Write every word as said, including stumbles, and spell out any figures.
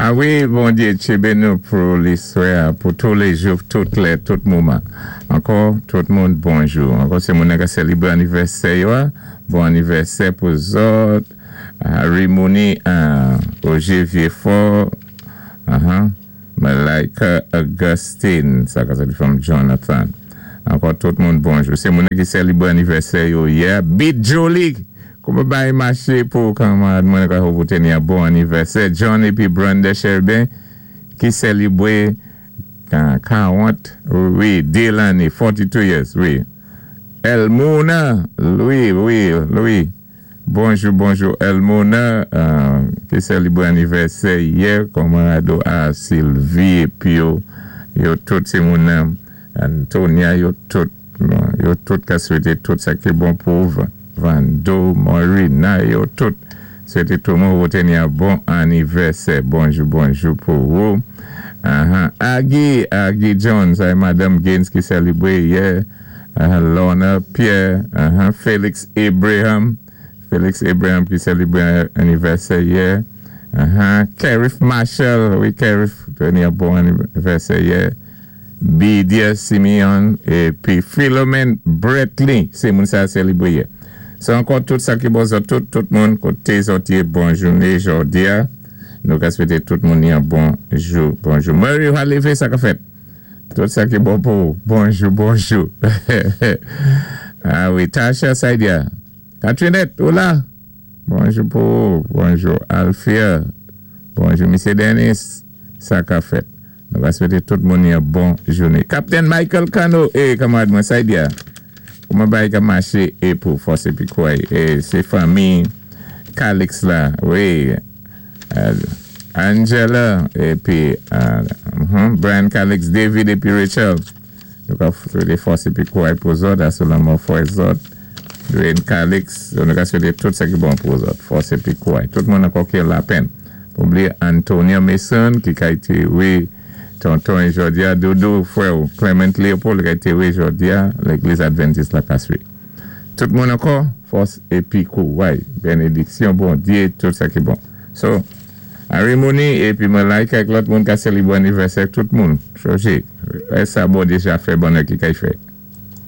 A wi, Bondyé tjébé nou pou liswè, pou tou lé jou, tout lè, tout moman. Ankò, tout moun, bonjou. Ankò, sé moun ka sélibwé anivèsè yo, bon anivèsè pou zòt. Harry Mooney, uh, Roger Viefort, uh-huh. Malaika Augustine, sa ka sa di from Jonathan. Ankò, tout moun, bonjou. Sé moun ki sélibwé anivèsè yo yè. Beat Jolie, kouman bagay maché pou kanmarad mwen ka pou teni yon bon anivèsè. John épi Brenda Sherben ki sélibwé karant, wi, dé lanné, forty-two years, wi. Elmona, Louis, wi, Louis. Bonjou, bonjou, Elmona, euh, ki sélibwé anivèsè yè, kanmarad a Sylvie, épi yo, yo tout sé moun Antonia, yo tout, yo tout ka swété tout sa ki bon pou Vando, Morina, yo tout. Swété tout moun pou teni yon bon anivèsè. Bonjou, bonjou pou ou. Uh-huh. Aggie, Aggie Jones, ay Madame Gaines ki sélibwé yè. Uh-huh. Lorna Pierre, uh-huh. Felix Abraham, Felix Abraham ki sélibwé anivèsè yè. Uh-huh. Kerif Marshall, wi, Kerif, teni yon bon anivèsè yè. Bidia Simeon, épi Philomene Bretley, sé moun sa sélibwé yè. Se ankò tout sa ki bon zòt, tout, tout moun, koté zòt yé bon jouné jòdi a. Nou ka swété tout moun yon bon jou, bonjou. Murray Halife, sa ka fèt. Tout sa ki bon pou, bonjou, bonjou. A wi, Tasha Saidia. Katrinette, ou la? Bonjou pou, bonjou Alfia. Bonjou, Misye Dennis. Sa ka fèt. Nou ka swété tout moun yon bon jouné. Captain Michael Cano, eh, kanmarad mwen Saidia. Kouman bagay ka maché é pou fòs épi kouray. É sé fanmi Calix la, wi. Angela, épi uh, Brian Calix, David épi Rachel. Nou ka swété fòs épi kouray pou zòt, asou lanmò fwè zòt. Dwayne Calix, nou ka swété tout sa ki bon pou zòt, fòs épi kouray. Tout moun ankò ki lapenn. Pa blié Antonio Mason, ki ka éntéwé tonton jòdi a, Dodo, fwè Clement Leopold, ki ka éntéwé jòdi a, Légliz Advantis la Kaswe. Tout moun ankò, fòs épi kouray. Bénédiksyon, Bondyé, tout sa ki bon. So, Harry Mooney, épi mwen like ak lòt moun ka sélibwé anivèsè, tout moun, chanje. Sa bon deja fè bonè ki kay fè.